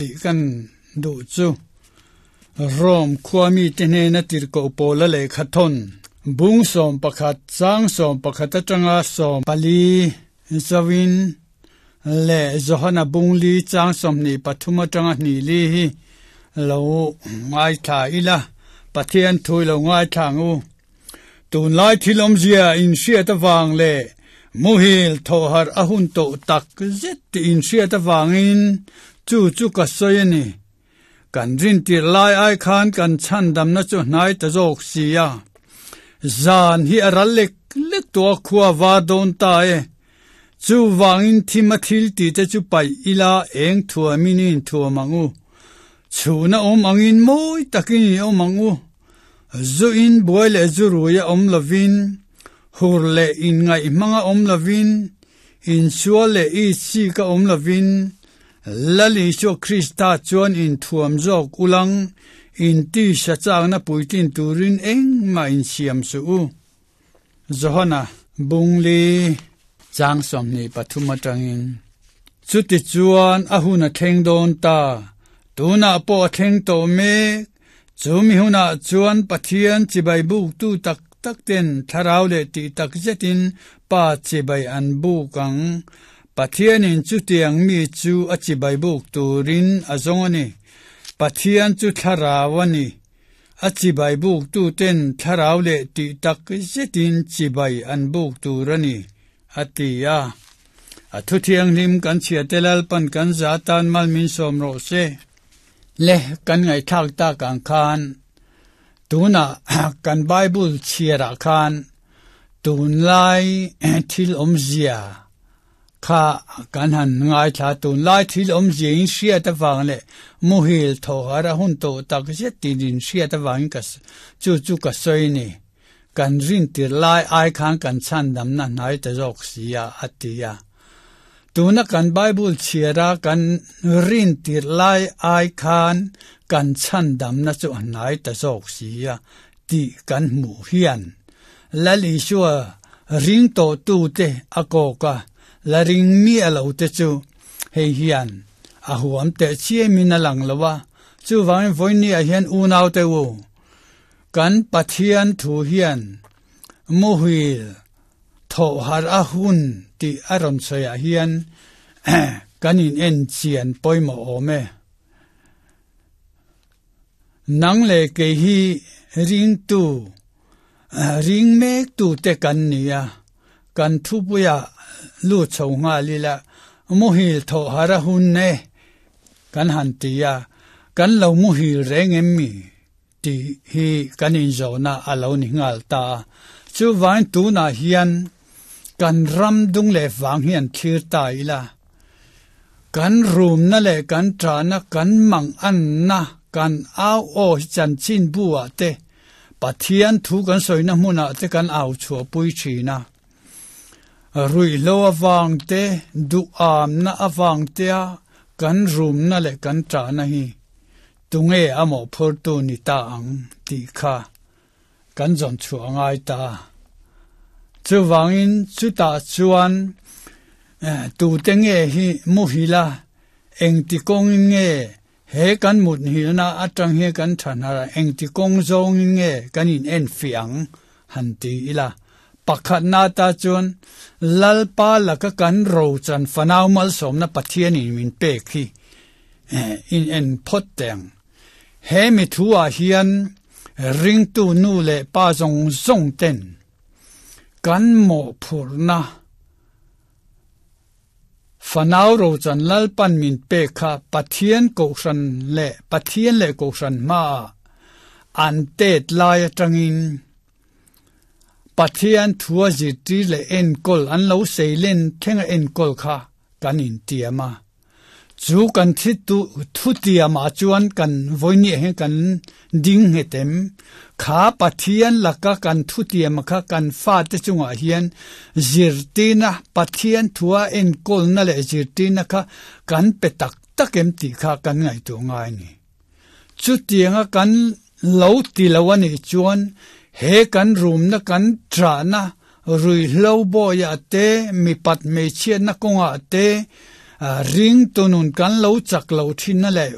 Tih kan duh chu Rome khua mite hnena tirhkoh Paula lehkha thawn bung 11 chang 11 atanga 14 zoin leh Johana bung li chang 23 atanga hnih li hi lo ngaithla ila, Pathian thu i lo ngaithla ang u. Tunlai thil awmzia inhriat avang leh muhil thawhharh a hun tawh tak zet tih inhriat avangin chu chu ka sawi a ni. Kan rintir lai ai khan kan chhandamna chu hnai ta zawk si a. Zan hi a ral lek lek tawh a khua var dawn ta e. Chuvangin thim a thil tih te chu paih ila eng thuamin i inthuam ang u. Chhuna awm angin mawi takin i awm ang u. Zu in buai leh zu rui a awm lovin, hur leh inngaih hmang a awm lovin, insual leh itsik a awm lovin, Lal Isua Krista chuan inthuam zawk ulang, intisa chakna puitlin turin engmah insiam suh u. Johana Bungli chang 23 atangin, Chutichuan a hun a thleng dawn ta, tunah pawh a thleng tawh mek, Chumi hunah chuan Pathian chibai buktu tak tak ten thlarau leh tih tak zetin Pa chibai an buk ang. Pathianin chutiang mi chu a chibai buk turin a zawng a ni. Pathian chu thlarau a ni. A chibai buktu ten thlarau leh tih tak zetin chibai an buk tur a ni, a ti a. A thu thianghlim kan chhiate Lalpan kan za tan mal min sawm rawh se. Le kan ngaihthlak tak ang khan tunah kan Bible chhiarah khan tunlai thil awmzia kha kan han ngaithla tunlai thil awmzia in hriat avang leh muhil thawhar a hun tawh tak zet tin in hriat avangin ka chu chu ka sawi ni kan rintir lai ai khan kan chhandamna hnai ta zawk si a a ti a. Tuna kan Bible chhiara kan rintir lai ai khan kan chhandamna chu a hnai ta zawk si a tih kan hmuh hian Lal Isua ring tawhtute a kawk a, la ring miah lo te chu hei hian a huam teh chiamin a lang lo a. Chuvangin vawinia hian unaute u, kan Pathian thu hian muhil Thawhharh a hun tih a rawn sawiah hian kan in en chian pawimawh awm e. Nang leh kei hi ringtu, ring mektu te kan ni a, kan thupuiah lut chho nghal ila muhil thawhharh a hun e kan han ti a, kan lo muhil reng em mi? Tih hi kan inzawhna a lo ni nghal ta a. Chuvangin tunah hian kan ram dung leh vang hi an thlir ta ila. Kan rumna leh kan ṭahna, kan manganna, kan au aw hi chanchin bu ah te, Pathian thu kan sawina hmunah te kan au chhuahpui ṭhin a. Ruihhlo avang te, duhamna avang tea kan rumna leh kan ṭahna hi Tunge a mawhphurtu ni ta ang tih kha kan zawn chhuah a ngai ta. Chuvangin chutah chuan tute nge hi muhil a, engti kawngin nge he kan muthilna atang hian kan tha hnar a, engti kawng zawngin nge kan in enfiah ang han ti ila. Pakhatna ata chuan Lalpa laka kan rochan fanau malsawmna Pathianin min pek hi in en phawt teh ang. He mi thu ah hian ringtu nu leh pa zawng zawng ten kan mawhphurhna fanau rochan Lalpan min pek kha Pathian kohhran leh Pathian leh kohhran hmaah an tet lai atangin Pathian thua zirtir leh enkawl an lo seilen thlenga enkawl kha kan intiam a. Chu kan thi tu thutiamah chuan kan vawinia hian kan ding nghet em? Kha Pathian laka kan thutiama kha kan fate chungah hian zirtirna, Pathian thua enkawlna leh zirtirna kha kan pe tak tak em tih kha kan ngaihtuah ngai a ni. Chutianga kan lo ti lo a nih chuan he kan rumna kan ṭahna ruihhlo bawiah te, mipat hmeichhiatna kawngah te, Ringtu nun kan lo chak lo thinna leh